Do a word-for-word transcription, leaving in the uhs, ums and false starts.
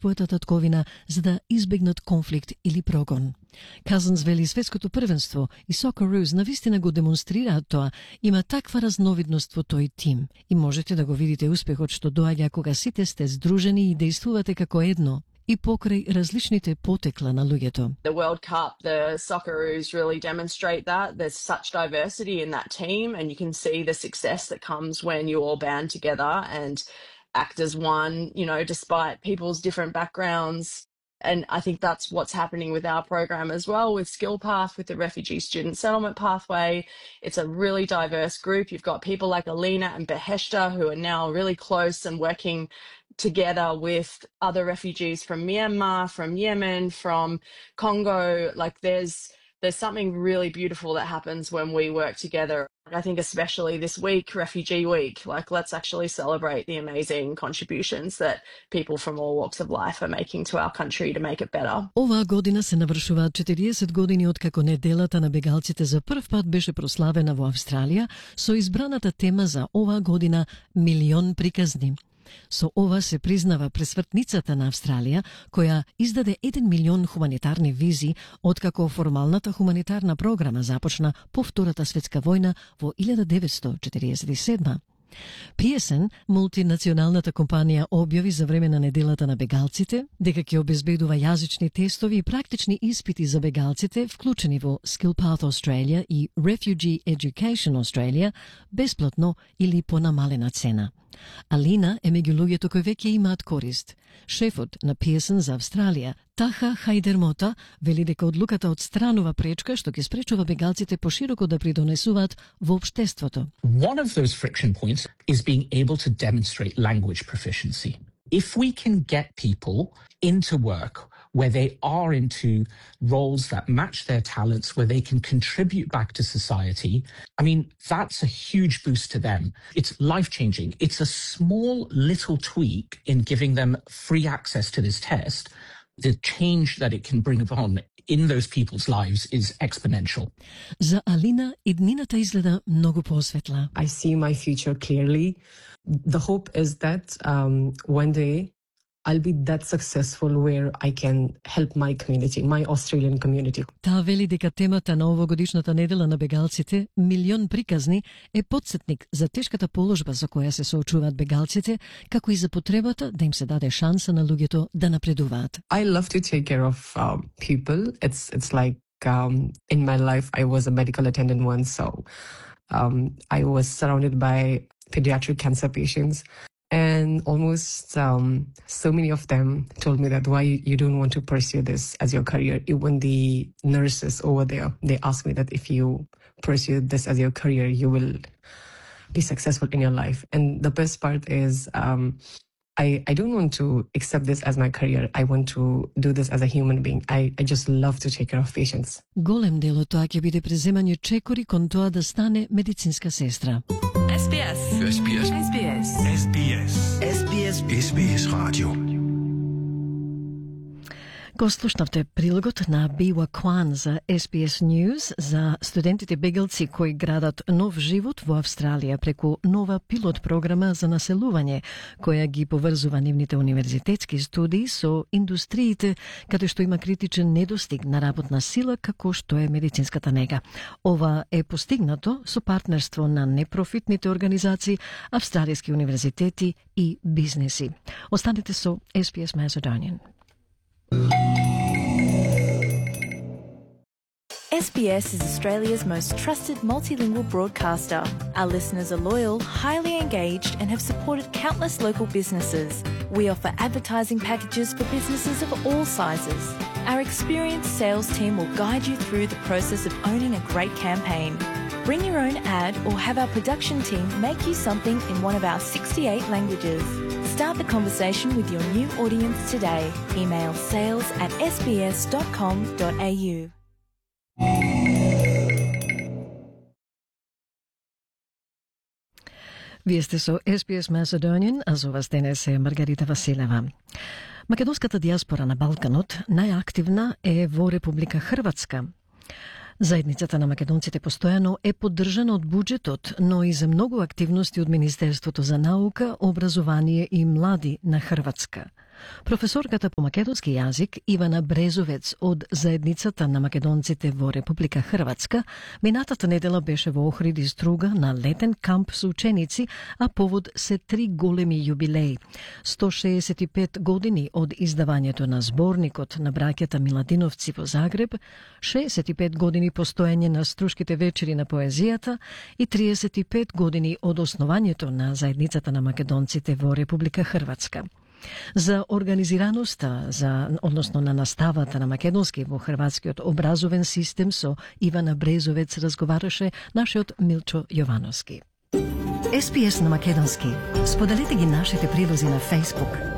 својата татковина за да избегнат конфликт или прогон. Казанс вели светското првенство и Socceroos навистина го демонстрираат тоа, има таква разновидност во тој тим и можете да го видите успехот што доаѓа кога сите сте здружени и действувате како едно и покрај различните потекла на луѓето. The World Cup, the Socceroos really demonstrate that. There's such diversity in that team and you can see the success that comes when you all band together and act as one, you know, despite people's different backgrounds. And I think that's what's happening with our program as well, with Skill Path, with the Refugee Student Settlement Pathway. It's a really diverse group. You've got people like Alina and Beheshta who are now really close and working together with other refugees from Myanmar, from Yemen, from Congo. Like there's there's something really beautiful that happens when we work together. I think especially this week, Refugee Week, like let's actually celebrate the amazing contributions that people from all walks of life are making to our country to make it better. Оваа година се навршуваат четириесет години откако неделата на бегалците за прв пат беше прославена во Австралија со избраната тема за оваа година Милион приказни. Со ова се признава пресвртницата на Австралија, која издаде еден милион хуманитарни визи откако формалната хуманитарна програма започна по Втората светска војна во илјада деветстотини четириесет и седма. Пиесен, мултинационалната компанија, објави за време на неделата на бегалците дека ќе обезбедува јазични тестови и практични испити за бегалците, вклучени во Skill Path Australia и Refugee Education Australia, бесплатно или по намалена цена. Алина е меѓу луѓето кои веќе имаат корист. Шефот на Пиесен за Австралија, Таха Хајдермота, вели дека одлуката одстранува пречка што ќе спречува бегалците пошироко да придонесуваат во општеството. One of those friction points is being able to demonstrate language proficiency. If we can get people into work where they are into roles that match their talents, where they can contribute back to society, I mean, that's a huge boost to them. It's life-changing. It's a small little tweak in giving them free access to this test. The change that it can bring upon in those people's lives is exponential. За Алина иднината изгледа многу посветла. I see my future clearly. The hope is that um, one day I'll be that successful where I can help my community, my Australian community. Таа вели дека темата на овогодишната недела на бегалците, Милион приказни, е потсетник за тешката положба за која се соочуваат бегалците, како и за потребата да им се даде шанса на луѓето да напредуваат. I love to take care of um, people. It's it's like um, in my life I was a medical attendant once, so um, I was surrounded by pediatric cancer patients. And almost um, so many of them told me that why you don't want to pursue this as your career. Even the nurses over there, they asked me that if you pursue this as your career, you will be successful in your life. And the best part is um, I, I don't want to accept this as my career. I want to do this as a human being. I, I just love to take care of patients. Голем дел од тоа ќе биде преземање чекори кон тоа да стане медицинска сестра. S B S. S B S. S B S. S B S. S B S. S B S Radio. Го слушнавте прилогот на Бива Кван за S B S News за студентите бегалци кои градат нов живот во Австралија преку нова пилот програма за населување, која ги поврзува нивните универзитетски студии со индустриите, каде што има критичен недостиг на работна сила, како што е медицинската нега. Ова е постигнато со партнерство на непрофитните организации, австралијски универзитети и бизнеси. Останете со S B S Macedonian. S B S is Australia's most trusted multilingual broadcaster. Our listeners are loyal, highly engaged, and have supported countless local businesses. We offer advertising packages for businesses of all sizes. Our experienced sales team will guide you through the process of owning a great campaign. Bring your own ad or have our production team make you something in one of our sixty-eight languages. Start the conversation with your new audience today. Email sales at s b s dot com dot a u. Вие сте со S B S Macedonian, а за вас денес е Маргарита Василева. Македонската диаспора на Балканот најактивна е во Република Хрватска. Заедницата на македонците постојано е поддржана од буџетот, но и за многу активности од Министерството за наука, образование и млади на Хрватска. Професорката по македонски јазик Ивана Брезовец од Заедницата на македонците во Република Хрватска минатата недела беше во Охрид и Струга на летен камп со ученици, а повод се три големи јубилеи. сто шеесет и пет години од издавањето на зборникот на браќата Миладиновци во Загреб, шеесет и пет години постоење на Струшките вечери на поезијата и триесет и пет години од основањето на Заедницата на македонците во Република Хрватска. За организираноста, за, односно на наставата на македонски во хрватскиот образовен систем со Ивана Брезовец разговараше нашиот Милчо Јовановски. Ес Би Ес на македонски. Споделете ги нашите прилози на Facebook.